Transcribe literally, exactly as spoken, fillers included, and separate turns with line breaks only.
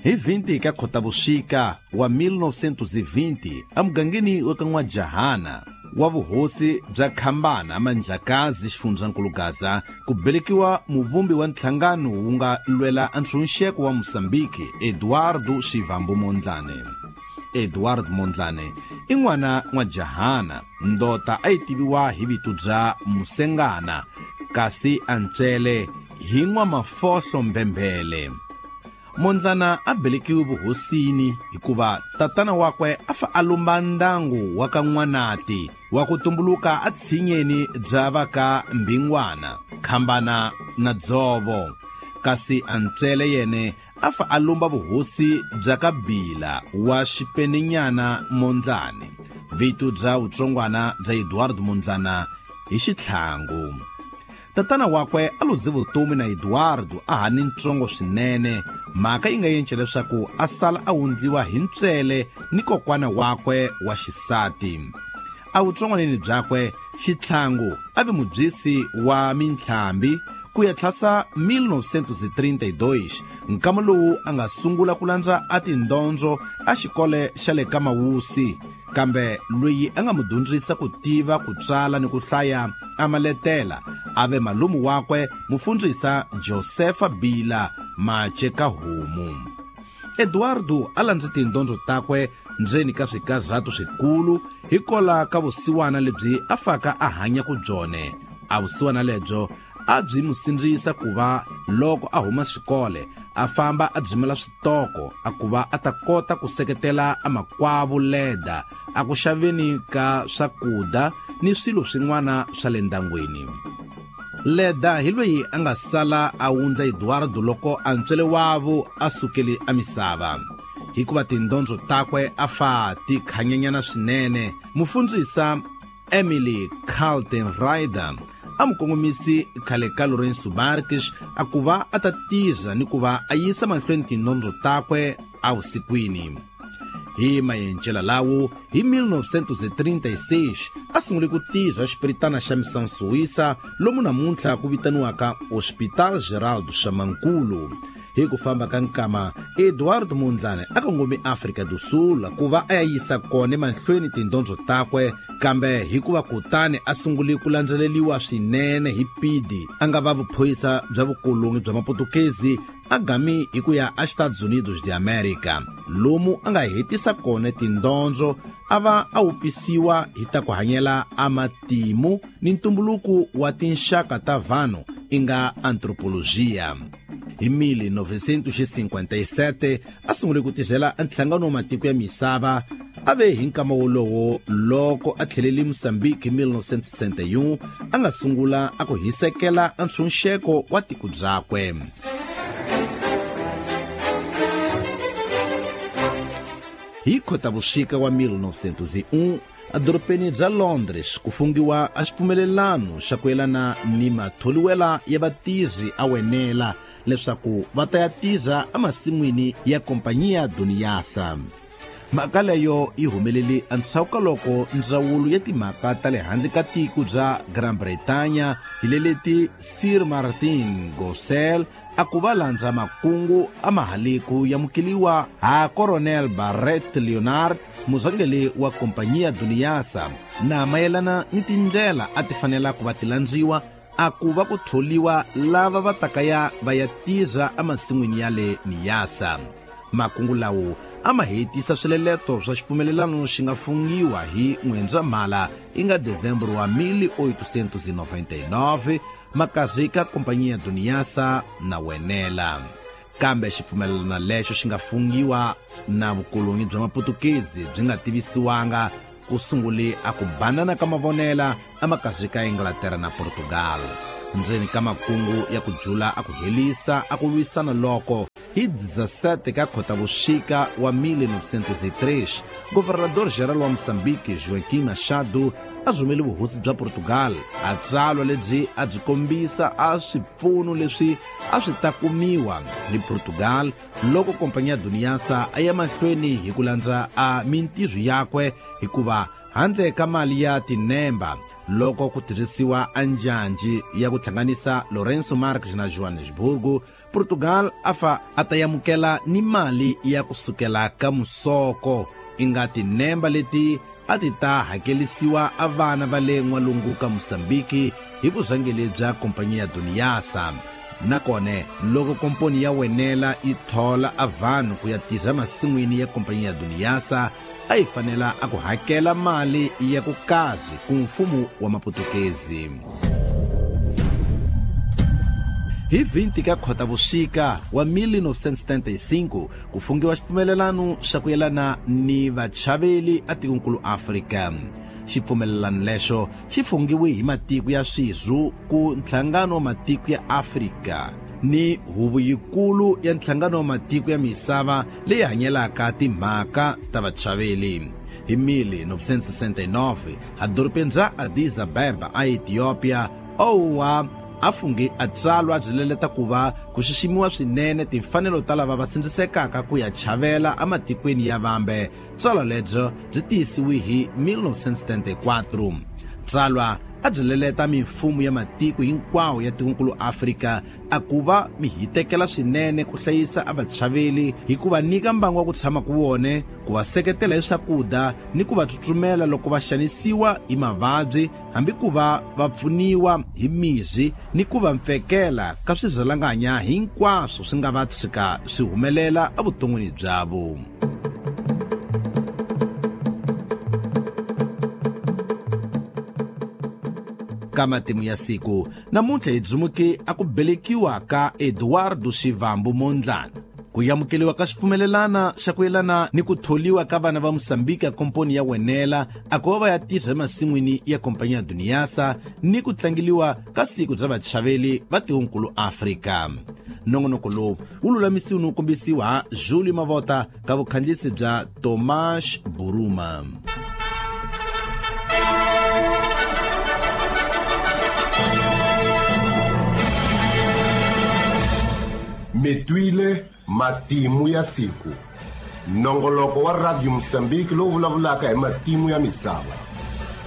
Hi vinte ka Khotavuxika wa mil novecentos e vinte, emugangeni wa ka N'wajahana wa vuhosi bya Khambana Mandlakazi xifundzankulu Gaza ku velekiwa muvumbi wa nhlangano wu nga lwela ntshunxeko wa Mozambique Eduardo Shivambu Mondlane. Eduardo Mondlane i n'wana N'wajahana, ndota a yi tiviwa hi vito bya Musengana, kasi antswele hi N'wamafohlo Mbembele. Mondlana a velekiwe vuhosini hikuva tatana wakwe a fa a lumba ndangu wa ka N'wanati wa ku tumbuluka a tshinyeni bya va ka Mbingwana, Khambana na Dzovo, kasi antswele yene a fa a lumba vuhosi bya ka Bila wa Xipenenyana Mondlane. Vito bya vutsongwana bya Eduardo Mondlana hi Xitlhangu. Tatana wakwe a luze vutomi na Eduardo a ha ni ntsongo swinene, mhaka yi nga yenca leswaku a sala a wundliwa hi ntswele ni kokwana wakwe wa xisati. A vutsongwaneni byakwe Xitlhangu a ve mubyisi wa mintlhambi ku ya tlhasa mil novecentos e trinta e dois, nkama lowu a nga sungula ku landza a tindondzo a xikole xa le ka Mawusi, kambe loyi a nga mu dyondzisa ku tiva ku tsala ni ku hlaya a maletela a ve malume wakwe mufundzisa Josefa Bila Machekahumu. Eduardo a landze tindondzo takwe ndzeni ka swikazatu swikulu hikola ka vusiwana lebyi a faka a hanya ku byone. A vusiwana lebyo a byi mu sindzisa ku va loko a huma xikole a famba a dzimela switoko a ku va a ta kota ku seketela a makwavo Leda a ku xaveni ka swakudya ni swilo swin'wana swa le ndangwini. Leda hi loyi a nga sala a wundla Eduardo loko a ntswele wavo a sukele a misava. Hikuva tindondzo takwe a fa ti khanyanyana swinene, mufundzisa Emily Carlton Ryder a mukongomisi khale ka Lourenço Marques a ku va a ta tiza ni ku va a yisa mahlweni tindondzo takwe a vusikwini. Hi mayencela lawo hi mil novecentos e trinta e seis a sungule ku tiza xipiritana xa Missão Suíça lomu namuntlha ku vitaniwaka Hospital Geral do Xamankulu. Hi ku famba ka nkama Eduardo Mondlane a kongome Afrika do Sul ku va a ya yisa kona emahlweni tindondzo takwe, kambe hikuva kutani a sungule ku landzeleriwa swinene hi P I D a nga va vuphorisa bya vukolonyi bya Maputukezi a gami hi ku ya a Estados Unidos de América lomu a nga hetisa kona tindondzo a va a wupfisiwa hi ta ku hanyela a matimu ni ntumbuluko wa tinxaka ta vanhu i nga anthropologia. Hi mil novecentos e cinquenta e sete a sungule ku tirhela nhlangano wa matiko ya misava a ve hi nkama wolowo loko a tlhelele Mozambique hi mil novecentos e sessenta e um a nga sungula a ku hisekela ntshunxeko wa tiko byakwe. Hi Khotavuxika wa mil novecentos e um edorobeni bya Londres ku fungiwa a xipfumelelano xa ku yelana ni matholiwela ya vatirhi a wenela leswaku va ta ya tirha emasin'wini ya Companhia do Niassa. Mhaka leyo yi humelele endzhaku ka loko ndzawulo ya timhaka ta le handle ka tiko bya Gran Bretagne hi leleti Sir Martin Gossel a ku va landza makungu a mahaleku ya mukeliwa ha Coronel Barrett Leonard muzangeli wa Companhia do Niassa na mayelana ni tindlela a ti fanela ku va ti landziwa a ku va ku tholiwa lava va taka ya va ya tirha emasin'wini ya le Niassa. Makungu lawo a ma hetisa swileleto swa xipfumelelano xi nga fungiwa hi N'wendzamhala i nga Dezembro wa mil oitocentos e noventa e nove makazi ka Companhia do Niassa na wenela. Kambe xipfumelelano lexo xi nga fungiwa na vukolonyi bya Maputukezi byi nga tivisiwanga ku sungule a ku banana ka mavonela emakazi ka Inglaterra na Portugal. Ndzeni ka makungu ya ku jula a ku helisa a ku lwisana loko hi dezessete ka Khotavuxika wa mil novecentos e três, Governador Geral wa Mozambique Joaquim Machado a rhumele vuhosi bya Portugal a tsalwa lebyi a byi kombisa a swipfuno leswi a swi ta kumiwa hi Portugal loko Companhia do Niassa a ya mahlweni hi ku landza a mintirho yakwe hikuva Handle ka mali ya tinemba loko ku tirhisiwa anjanji ya ku hlanganisa Lourenço Marques na Johannesburgo, Portugal afa a ta yamukela ni mali ya kusukela ka musoko inga tinemba leti a ti ta hakelisiwa a vana va le n'walungu ka Mosambiki hi vurhangeri bya kompani ya Doniasa. Nakona loko komponi ya Wenela yi thola a vanhu ku ya tirha masin'wini ya kompani ya Doniasa, a yi fanela a ku hakela mali ya ku kazi ku mfumo wa Maputukezi. Hi vhenti ka Khotavuxika wa mil novecentos e setenta e cinco ku fungiwa xipfumelelano xa ku yelana ni vachaveli a tikonkulu Afrika. Xipfumelelano lexo xi fungiwe hi matiko ya swirho ku nhlangano wa matiko ya Afrika ni huvo yikulu ya nhlangano wa matiko ya misava leyi hanyelaka timhaka ta vachaveli. Hi mil novecentos e sessenta e nove, a dorobeni ra Addis Ababa a Ethiopia, owa a funge a tsalwa byi leleta ku va ku xiximiwa swinene timfanelo ta lava va sindzisekaka ku ya chavela ematikweni ya vambe. Tsalwa lebyo byi tiyisiwe hi mil novecentos e setenta e quatro. Tsalwa a byi leleta mimfumo ya matiko hinkwawo ya tikonkulu Afrika a ku va mi hitekela swinene ku hlayisa a vachaveli hi ku va nyika mbangu wa ku tshama ku wone, ku va seketela hi swakudya ni ku va tsutsumela loko va xanisiwa hi mavabyi, hambi ku va va pfuniwa hi mirhi ni ku va mpfekela ka swirhalanganya hinkwaswo swi nga va tshika swi humelela evuton'wini byavo. Ka matimu ya siku namuntlha hi dzumuke a ku belekiwa ka Eduardo Shivambu Mondlane, ku yamukeliwa ka xipfumelelana xa ku yelana ni ku tholiwa ka vana va Mosambiki a komponi ya Wenela a ku va va ya tirha emasin'wini ya kompani ya Doniasa ni ku tlangeliwa ka siku bya vachaveli va tikonkulu Afrika. Nongonoko lowu wu lulamisiwe ni ku kombisiwa Julio Mavota ka vukhandziyisi bya Tomas Buruma.
Mitwile matimu ya siku, nongoloko wa Radio Mosambiki lowu vulavulaka hi matimu ya misava.